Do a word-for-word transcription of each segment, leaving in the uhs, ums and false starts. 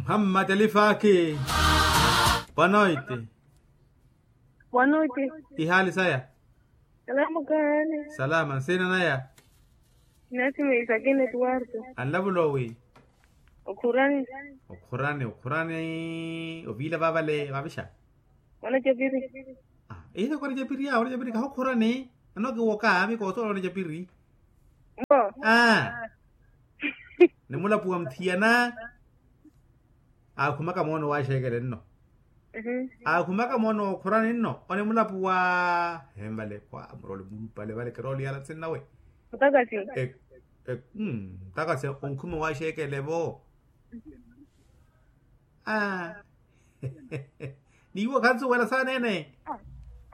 Phamma telifaaki. Pwanoiti. Pwanoiti. Ihaali saya. Salama kaani. Salama nsina naya. Nasima isakini tuwarto. Anlavula owi. Okhurani. Okhurani okhurani. Oviila vavale vavixa. Mwana japiri. Iile kwana japiri awo wana japiri kahokhurani. Anokiwoka aami kootola wana japiri. Aa. Ni mulapu wa muthiyana. Aakhumaka moono wa axeekele nno. Aakhumaka moono wa okhurani nno one mulapu wa henvale kwa muroli mulupale vale kirooli yala nsinnawe. Mutakasi. Mutakasi onkhuma wa axeekele vo. Aa. N'iwo khansuwela saaneene.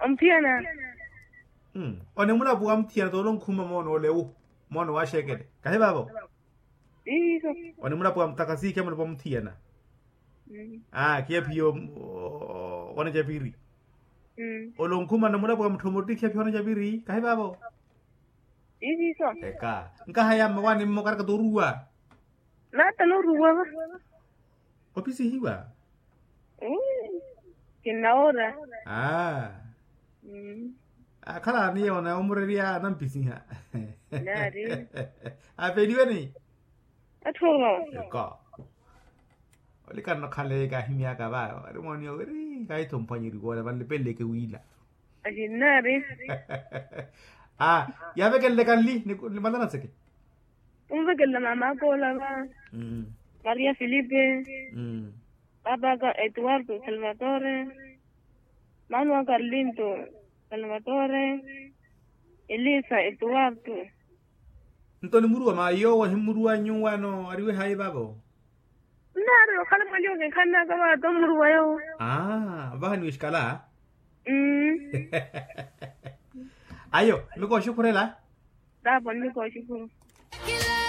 Omuthiyana. One mulapu wa muthiyana toole onkhuma moono ole wu. Moono wa axeekele kahi vaavo. One mulapu wa mutakasi ikhe mulapu wa muthiyana. Aa khiya phiyo. Wana japiri. Ole onkhuma one mulapu wa mutthu omotti khiya phiyo wana japiri kahi vaavo. Eka. Nkahaya mmawaani mmokarakata oruwa. Naata noruwa va. Opisihiwa. Kinnawoora. Aa. Akhala aniye ona omurerya anampisiha. Naari. Apeliweni. Atthu. Eka. Oli kannokhala kahimyaka va ari mooniya wiri kahittho mphwanyeriwa ola vanlepeleke wiila. Ahinnaari. Aa. Yaavekelele kanli ni malana seke. Khunvekelela maam'aka ola va. Maria filipe. Paap'aka etuwarto salvatore. Manuwa karlinto salvatore. Elisa etuwarto. Nto nimuruwa mayo wahimuruwa nyuwano ariwe hayi vavo. Nnaari okhala mwaliwo kinkhanaka vato muruwa yowo. Aa vaha niwixikala. Ayo nlukooxukhurela. Taapo nlukooxukhuru.